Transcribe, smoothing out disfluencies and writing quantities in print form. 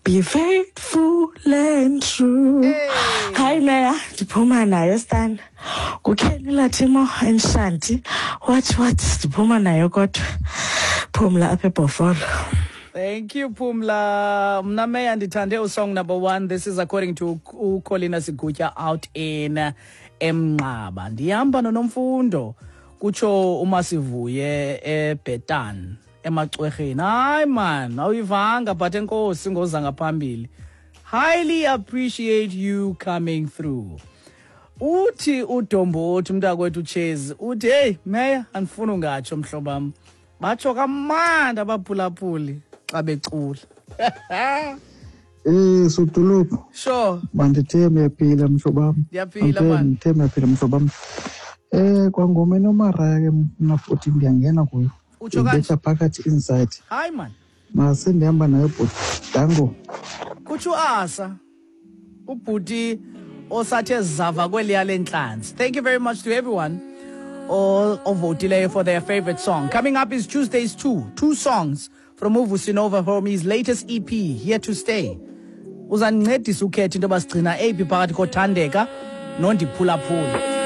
Be faithful and true. Hayi meya, ndiphuma nayo stana. Kukheni Lathimo eNshanti. What what ndiphuma nayo kodwa. Phumla apha eBhofolo. Thank you, Pumla. Mna meya ndithande usong number one. This is according to uColina Sigutya out in Emnqaba. Ndihamba noNomfundo kutsho uMasivuye eBetan emacwerheni. Hayi man, awuyivanga but enkosi ngoza ngaphambili. Highly appreciate you coming through. Uthi uDombothi umntakwethu uChezi uthi hey meya andifuni ungatsho mhlobam. Batsho kamandi abaphulaphuli xa becula. Eh sodolophu. Sure. Mandithembe uyaphila mhlobo wam. Ndiyaphila man. Ndithembe uyaphila mhlobo wam. Eh kwangoma enomaraya ke mna futhi ndiyangena kuyo. Utsho kanje. Ibetha phakathi inside. Hayi man. Mase ndihamba nayo bhuti. Dango. Kutsho uAsa. Ubhuti osathe zava kweliya lentlanzi. Thank you very much to everyone ovotileyo for their favorite song. Coming up is Tuesdays 2, two songs from uVusinova from his latest EP, Here to Stay. Uzandincedisa ukhetha into yoba sigcina eyiphi phakathi koThandeka noNdiphulaphula.